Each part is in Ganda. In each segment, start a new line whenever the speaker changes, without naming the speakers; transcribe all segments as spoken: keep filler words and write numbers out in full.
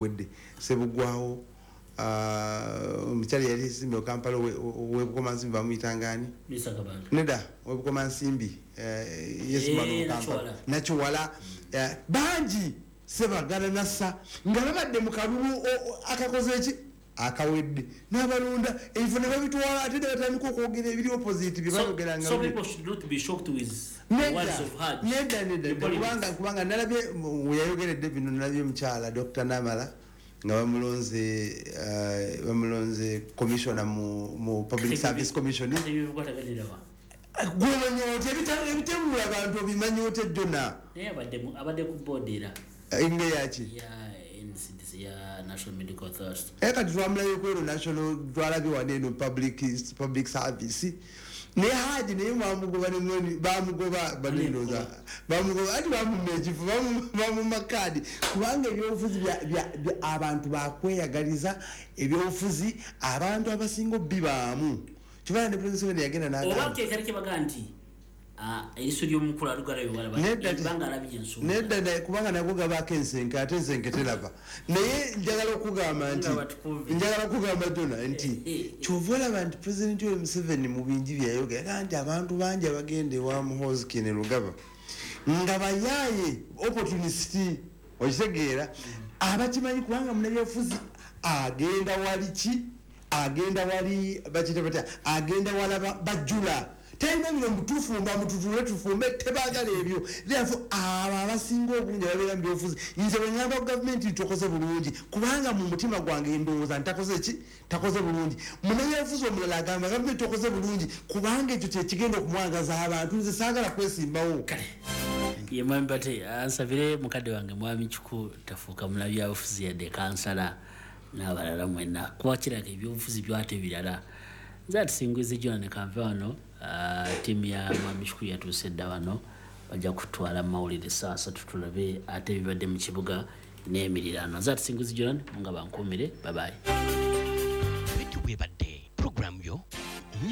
Oguwedde Sebugwawo, omukyala yali esimbi Okampala webukomansimbi bamuyitangani neda webukomansimbi Nakiwala, bangi Sebagala nassa nga babadde mu kalulu akakoze eki akawedde n'abalonda ebifo ne babitwala ate ne batandika okwogera ebiri opposite bye bayogeranga. Nedda nedda, kubanga kubanga nalabye weyayogeredde bino, nalabye omukyala Doctor Namala nga bamulonze bamulonze commissioner mu mu Public Service Commission. Gwemanya otya ebitemula abantu obimanyi otya Jona?
Naye abadde ku board era
inge yaki
ya N C D C ya National Medical Authority.
Eka twamulayo kwero national twalabye wano eno public public service ne Haji naye bamugoba ne mweni bamugoba banendoza bamugoba ati bamumma ekifo bamumma kaadi kubanga ebyobufuzi bya abantu bakweyagaliza ebyobufuzi abantu abasinga obbibaamu. Kibala ne President yagenda n'agamba
oba kekali kibaga nti eriso ly'omukulu alugala banga alabye ensonga.
Nedda, kubanga nagwo gabaako ensenke ate ensenke teraba. Naye njagala okugamba nti njagala okugamba Jona nti kyova olaba nti President Yoweri Museveni mu bingi byeyayogera nti abantu bangi abagenda ewa Muhoozi Kainerugaba nga bayaaye opportunist, okitegeera, abakimanyi kubanga munnabyabufuzi agenda wali ki agenda wali bakiyita batya agenda wala bajjula talina bino mutufumba mututule tufumbe tebagala ebyo. Therefore abo abasinga obungi ababeera mu byobufuzi nze bwe ngamba ku gavumenti tokoze bulungi kubanga mu mutima gwange ndowooza ntakoze ki takoze bulungi. Munnabyabufuzi omulala agamba gavumenti tokoze bulungi kubanga ekyo kyekigenda okumwangaza abantu, nze saagala kwesimbawo.
Ye mwami Bate ansabire mukadde wange mwami Kiku tafuuka munnabyabufuzi yadde kansala n'abalala mwenna kuba kiraka ebyobufuzi byate birala. Nze atusinguize Jona ne kanve wano, ttiimu ya mwami Kiku yatuuse dda wano, bajja kutwala mawulire saa ssatu tulabe ate ebibadde mu kibuga n'emiriraano. Nze atusinguize Jona munga bankuumire, babayi.
Bwetyo bwebadde puroguramu yo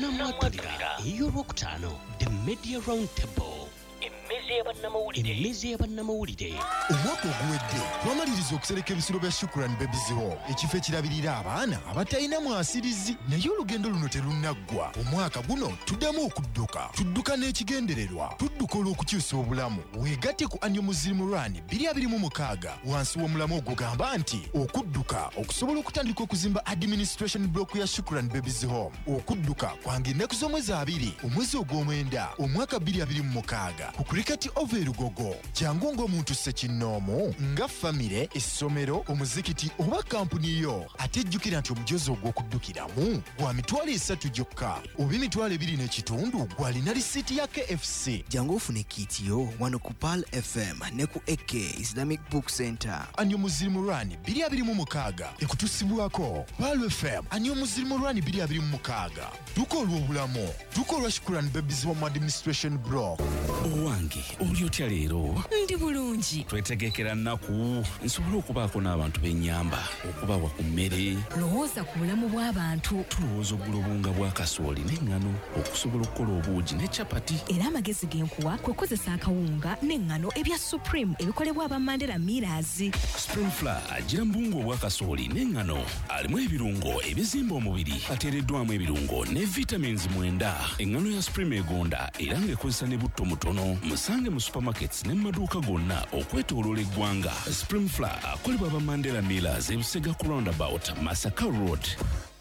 Namwatulira ey'olwokutaano, The Media Round Table. Emmeza y'abannamawulire.
Omwaka oguwedde twamaliriza okusereka ebisulo bya Shukran Babies Home, ekifo ekirabirira abaana abatalina mwasirizi, naye olugendo luno terunnaggwa. Omwaka guno tuddamu okudduka, tudduka n'ekigendererwa, tudduka olw'okukyusa obulamu. Weegatte ku Annual Muslim Run bbiri abiri mu mukaaga wansi w'omulamu ogugamba nti okudduka okusobola okutandika okuzimba administration block ya Shukran Babies Home. Okudduka kwange ennaku z'omwezi abiri omwezi ogw'omwenda omwaka bbiri abiri mu mukaaga ku Cricket Oval Lugogo. Jangu ng'omuntu ssekinnoomu nga famire, essomero, omuzikiti oba kampuni yo. Ate jjukira nti omujozi ogw'okuddukiramu gwa mitwalo esatu gyokka oba emitwalo ebiri n'ekitundu gw'alina risiiti ya K F C.
Jangu ofune kiiti yo wano ku Pearl F M ne ku A K Islamic Book Center.
Annual Muslim Run bbiri abiri mu mukaaga ekutusibwako Pearl F M. Annual Muslim Run bbiri abiri mu mukaaga. Dduka olw'obulamu, dduka olwa Shukran Babies Home Administration Block.
Owange oli otya leero?
Ndi bulungi.
Twetegekera nnaku nsobole okubaako n'abantu b'ennyamba okubawa ku mmere.
Lowooza ku bulamu bw'abantu.
Tulowooza okugula obuwunga bwa kasooli n'eŋŋano okusobola okukola obuugi ne capati.
Era amagezi ge nkuwa kwe kukozesa akawunga n'eŋŋano ebya Supreme ebikolebwa aba Mandela Millers.
Supreme Flour agira mu buwunga obwa kasooli n'eŋŋano alimu ebirungo ebizimba omubiri, ateereddwamu ebirungo ne vitamins mwenda. Eŋŋano ya Supreme egonda era ng'ekozesa ne butto mutono. Musange mu supermarkets ne mu maduuka gonna okwetooloola eggwanga. Supreme Flour akolebwa aba Mandela Millers ebusega ku roundabout Masaka Road.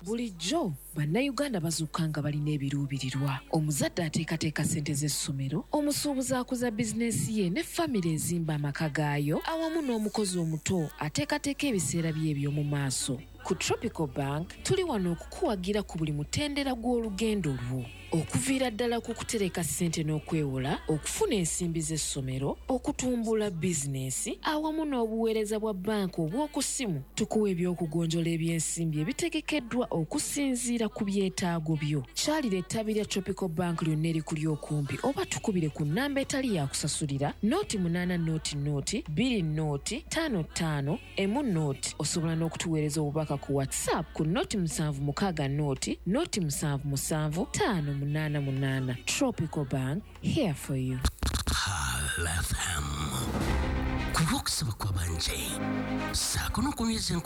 Bulijjo bannayuganda bazuukuka nga balina ebiruubirirwa. Omuzadde ateekateeka ssente z'essomero, omusuubuzi akuza bizinensi ye ne famire ezimba amaka gaayo, awamu n'omukozi omuto ateekateeka ebiseera bye eby'omu maaso. Ku Tropical Bank tuli wano okukuwagira ku buli mutendera gw'olugendo lwo. Okuviira ddala ku kutereka ssente n'okwewola, okufuna ensimbi z'essomero, okutumbula bizinensi, awamu n'obuweereza bwa banka obw'oku ssimu. Tukuwa eby'okugonjola eby'ensimbi ebitegekeddwa okusinziira ku byetaago byo. Kyalira ettabi lya Tropical Bank lyonna erikuli okumpi oba tukubire ku nnamba etali ya kusasulira nooti munaana nooti nooti bbiri nooti ttaano ttaano emu nooti. Osobola n'okutuweereza obubaka ku WhatsApp ku nooti musanvu mukaaga nooti nooti musanvu musanvu ttaano munaana munaana. Tropical Bank, here for you.
Pearl F M. Ku lw'okusaba kw'abangi, ssaako n'okunyweza.